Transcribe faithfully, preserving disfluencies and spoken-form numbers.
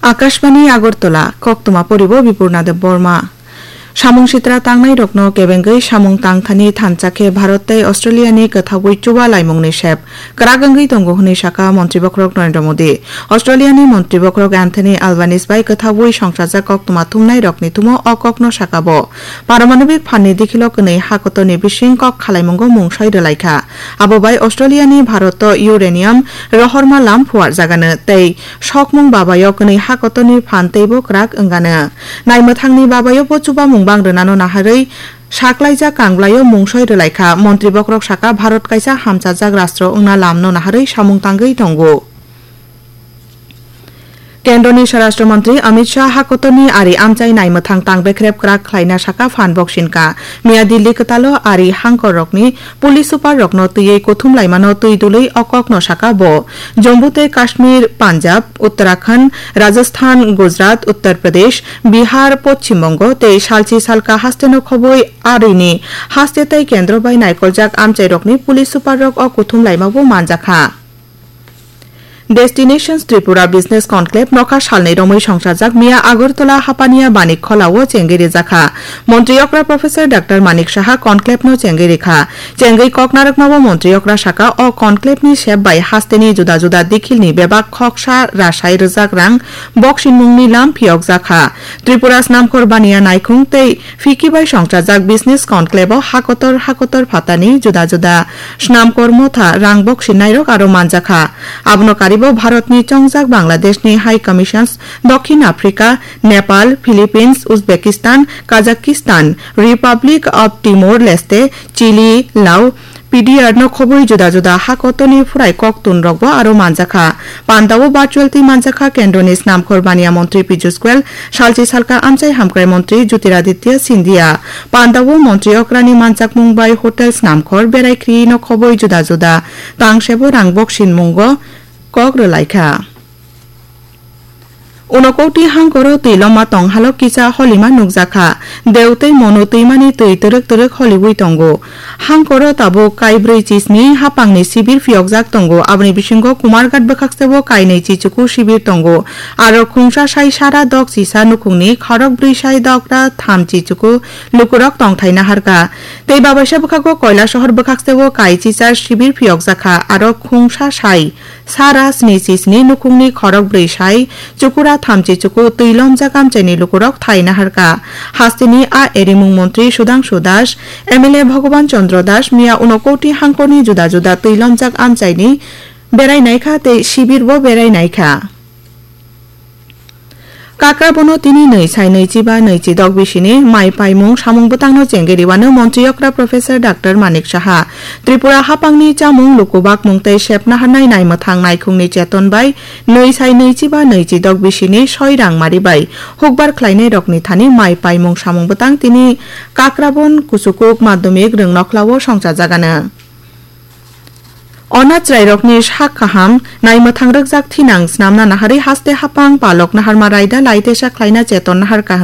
Akashbani Agartala, koktwma poribo Bipurna Debbarma. Samung sitra tangnairokno kebengwi samung tangthani thansa khe Bharat tei Australia ni kwthaui chuba laimungni sep kwrak wngwi tongo hwnwi sakha Montri Bokhorok Narendra Modi. Australia ni Montri Bokhorok Anthony Albanese bai kwthaui songchajak koktwma thumnairokni thumo o kokno sakha bo. Paramanobik phanni dikhilo kwnwi hakotorni bising kok khalaimungo mungsoi rwlaikha. Abo bai Australia ni Bharat o uranium rohorma lam phuarjagano tei sokmung babayo kwnwi hakotorni phan teibo kwrak wngano. Naimwthangni babayo bo chubamung bang rwnano naharwi saklaijak kanglaio mungsoi rwlaikha. Montri Bokhorok sakha Bharat kaisa hamchajak rastro wngna lamno naharwi samung tangwi tongo. Kendroni Swarashtra Mantri Amit Shah hakotorni ari amchai naimwthang tang bekrep kwrak khlaina sakha phan boksinka. Miya Delhi kwtalo ari hangkorrokni police super rokno twiwi kuthum laimano twi dului o kokno sakha bo. Jammu tei Kashmir, Punjab, Uttarakhand, Rajasthan, Gujarat, Uttar Pradesh, Bihar, Poschim Bongo tei salchi salka hasteno khobwi arini haste tei kendro bai naikoljak amchairokni police super rok o kuthum laimabo manjakha. Destinations Tripura Business Conclave nokha salnwi romwi songchajak miya Agartala Hapania Banik Khola o chengwi rijakha. Montri okra Professor Doctor Manik Saha conclave no chengwi rikha. Chengwi kok narwkmao Montri okra sakha o conclave ni sep bai hasteni juda juda dikhil ni bebak khoksa rasai rwjak rang boksinmungni lam phiyokjakha. Tripura Snamkhor Baniya Naikhung tei Fiki bai songchajak business conclave o hakotor hakotor phatani juda juda snamkor motha rang boksinairok aro manjakha. Abono karibo Bharatni chongjak Bangladeshni High Commissions, Dokhin Africa, Nepal, Philippines, Uzbekistan, Kazakhstan, Republic of Timor-Leste, Chile, Lao, P D R no khobwi juda juda hakotorni phurai koktun rokbo aro manjakha. Pandao virtual twi manjakha Kendroni Snamkhor Baniya Montri Piyush Goyal, salchi salka amchai hamkrai Montri Jyotiraditya Scindia. Pandao Montri okrani manjakmung bai hotel snamkhor berai khri no khobwi juda juda tangsebo rang boksin mungo kok rwlaikha. Unokoti hangkoro twi loma tong halok kisa holima nukjakha. Deu tei Monu twimani twi twrwk twrwk holiwi tongo. Hangkoro tabuk kaibrwi chisni hapangni sibir phiyokjak tongo. Aboni bisingo Kumarghat bwkhaksebo kainwi chichuku sibir tongo. Aro khungsa sai sara dok chisa nukhungni khorok brwi sai dokra tham chichuku lukurok tongthai naharkha. Tei babaisa bwkhago Koilasohor bwkhaksebo kai chichar sibir phiyokjakha. Aro khungsa sai sara sni chisni nukhungni khorok brwi sai chukura thamchi chuku twi lomjak amchaini lukurok thai naharkha. Hasteni a erimung montri Sudhangshu Das, M L A Bhagaban Chandra Das miya Unokoti hangkorni juda juda twi lomjak amchaini berai naikha tei sibirbo berai naikha. Kakrabono tini nwi sai nwichi ba nwichi dok bisini mai paimung samung bwtangno chengwi rwano montri okra Professor Doctor Manik Saha. Tripura hapangni chamung lukubakmung tei sepna hanai naimwthang naikhungni cheton bai nwi sai nwichi ba nwichi dok bisini soi rang mari bai hukbar khlainairokni thani mai paimung samung bwtang tini Kakrabon Kuchukuk Madhyamik Rwngnokhlao songchajagano. Ona chwrairokni sak kaham naimwthang rwkjak thinang snamna naharwi haste hapang palok naharma raida laitesa khlaina cheton naharkha hwnwi